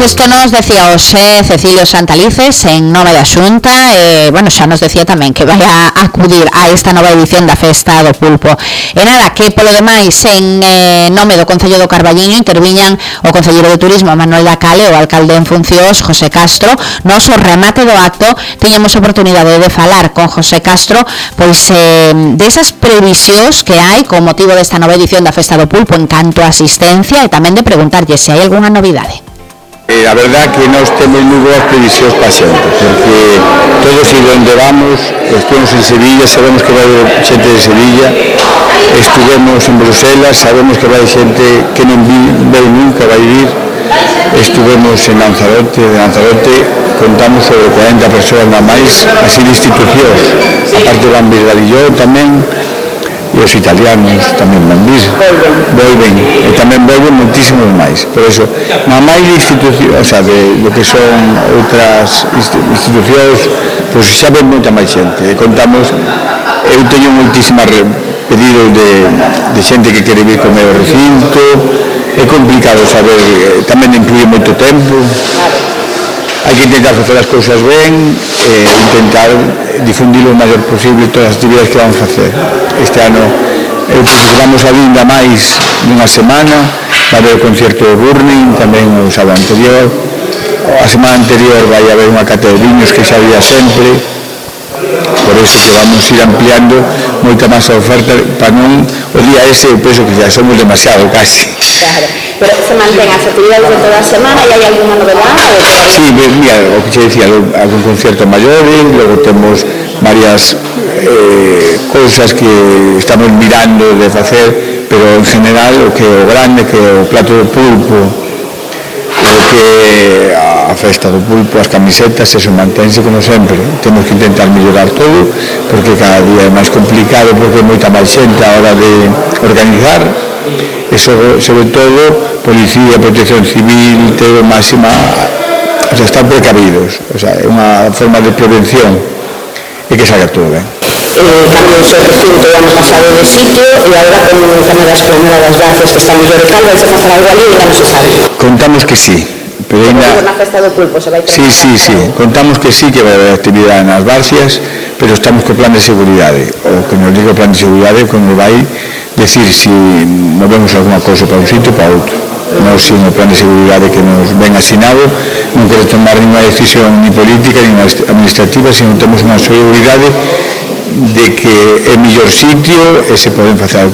Isto nos decía hoxe Cecilio Santalices en nome da Xunta, xa nos decía tamén que vai a acudir a esta nova edición da Festa do Pulpo. E nada, que polo demais en nome do Concello do Carballiño interviñan o Concelleiro de Turismo Manuel Dacale, o alcalde en funcións José Castro. Nos o remate do acto tiñamos a oportunidade de falar con José Castro pois desas previsións que hai con motivo desta nova edición da Festa do Pulpo en canto a asistencia e tamén de preguntarlle se hai algunha novidade. A verdad que nós temos moi boas previsións para xente, porque todos e onde vamos, estuvemos en Sevilla, sabemos que vai xente de Sevilla, estuvemos en Bruselas, sabemos que vai xente que non veu nunca, vai vir, estuvemos en Lanzarote, contamos sobre 40 persoas na máis, así de institucións, aparte van Bisgalilló tamén, e os italianos tamén van vir, volven, e tamén volven moitísimos máis. Por iso, na máis de institucións, de lo que son outras institucións, pois xa ven moita máis xente. E contamos, eu teño moitísimas pedidos de xente que quere vir comer o recinto, é complicado saber, tamén incluye moito tempo. Hai que intentar facer as cousas ben e intentar difundir o maior posible todas as actividades que vamos facer. Este ano vamos a vinda máis dunha semana, vai haber o concerto de Burning, tamén o sábado anterior. A semana anterior vai haber unha cata de viños que xa había sempre, por iso que vamos ir ampliando moita máis a oferta para non o día ese, eu penso que xa somos demasiado casi. Claro, pero se mantén as actividades de toda a semana e hai alguna novedade? Sí, mira, o que xe dicía, algún concerto maior, logo temos varias cousas que estamos mirando de facer, pero en general o que o grande, que o plato do pulpo, o que a festa do pulpo, as camisetas, eso mantense como sempre. Temos que intentar mellorar todo, porque cada día é máis complicado, porque é moita máis xente a hora de organizar, e sobre todo Policía, Protección Civil, todo máxima, están precavidos, é unha forma de prevención e que salga todo ben. Cambio o seu recinto o ano pasado de sitio e agora con o tema das Planadas Gracias que estamos de recal, vai se facer algo ali e non se sabe. Contamos que sí, pero ainda... Na Festa do Pulpo se vai ter... Sí, contamos que sí, que vai haber actividade nas Barcias, pero estamos co plan de seguridade, o que nos diga o plan de seguridade como vai decir si movemos alguna cousa para un sitio ou para outro. Nós, sin o plan de seguridade que nos ven asinado, non quero tomar ninguna decisión ni política ni administrativa, sino temos unha seguridade de que é mellor sitio e se poden facer algún